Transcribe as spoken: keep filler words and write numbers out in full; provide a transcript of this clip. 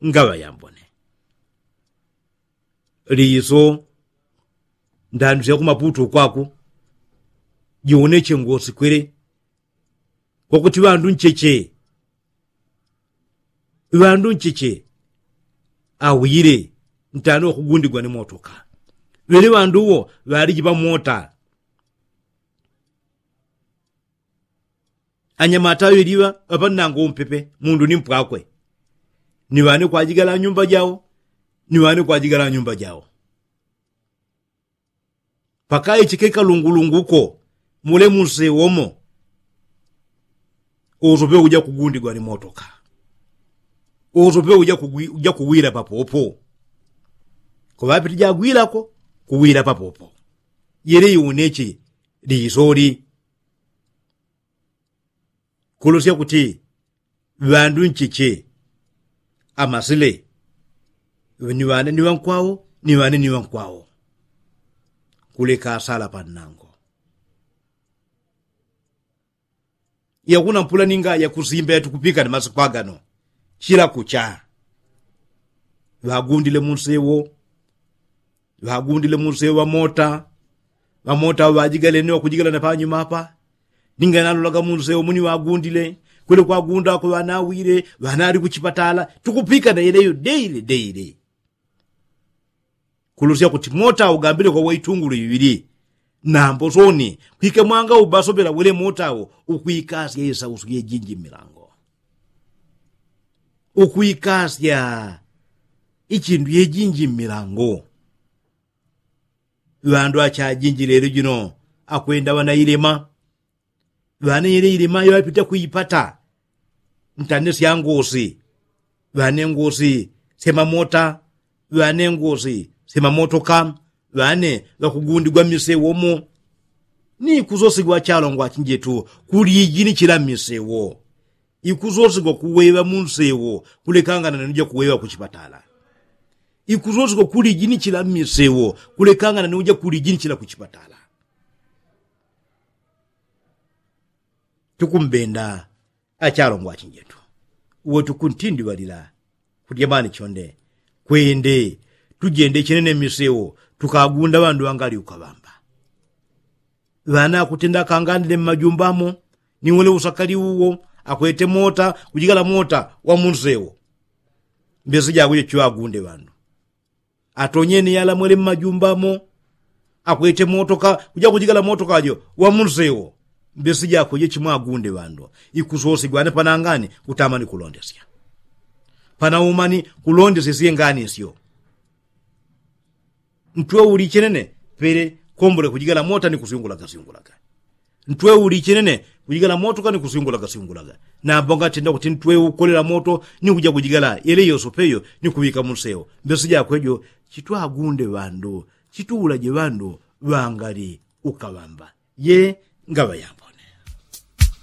Ngaŵa yambone liso ndandusya kumaputu kwaku, jiwoneche ngosikwele kwakuti ŵandu ncheche ŵandu ncheche awile ntani wakugundigwa ni motoka. Ŵele ŵandu uwo ŵaliji ŵamota anyamata ŵeliŵa ŵapannango umpepe mundu ni mpwakwe. Ni ŵane kwajigala nyumba jao ni ŵane kwajigala nyumba jao. Pakaichike kalungulungu ko mule munsewo mo usope uja kugundigwa ni motoka. Usope uja kuwila papopo. Kuŵapiti jagwilako kuwila papopo. Yele iuneche lisoli kulosya kuti ŵandu ncheche amasile ni ŵane ni ŵankwao ni ŵane ni ŵankwao. Kuleka asala pannango yakuna mpula ninga yakusimba yatukupika ni masiku agano. Chila kucha ŵagundile munsewo ŵagundile munsewo ŵamota. Ŵamota ŵajigale ni ŵakujigala na panyuma apa. Ninga nalolaga munsewo muni ŵagundile kwele kwagundako ŵanawile ŵanali kuchipatala. Tukupika na yeleyo deile deile. Kulusya kuti mota ugambile kwa waitungulu iŵili nambo soni kwike mwanga ubasopela wele mota wo ukwikasya isausu yejinji mmilango. Ukwikasya ichindu yejinji mmilango. Ŵandu achajinji lelo jino akwenda ŵanailema. Ŵane yele ilema yoŵapita kuipata ntane sya ngosi. Ŵane ngosi semamota. Ŵane ngosi semamotoka. Ŵane ŵakugundigwa mmisewo mo. Ni ikusosigwa achalongwa achinjetu kuliji ni chila mmisewo. Ikusosigwa kuweŵa munsewo kulekangana ni uja kuweŵa kuchipatala. Ikusosigwa kuliji ni chila mmisewo kulekangana ni uja kuliji ni chila kuchipatala. Tukumbenda achalongwa achinjetu uwe tukuntindiŵalila kutyamani chonde kwende tujende chenene mmisewo tukagunda ŵandu ŵangali ukaŵamba. Ŵana akutenda akangandile mmajumba mo ni wele usakali uwo akwete mota kujikala mota wa munsewo. Mbesi jakwe jechiŵagunde ŵandu atonyene yalamwele mmajumba mo akwete motoka kuja kujikala motoka jo wa munsewo. Mbesi jakwe jechimwagunde ŵandu ikusosigwa ane panangani kutamani kulondesya panaumani kulondesya syenganisyo. Ntwe ulichenene pele kombole kujigala mota ni kusyungulaga syungulaga. Ntwe ulichenene kujigala motoka ni kusyungulaga syungulaga. Nambo ngatenda kuti ntwe ukolela moto ni kuja kujigala yele yosopeyo ni kuŵika munsewo. Mbesi jakwe jo chitwagunde ŵandu chituulaje ŵandu ŵangali ukaŵamba. Ye ngaŵa yambo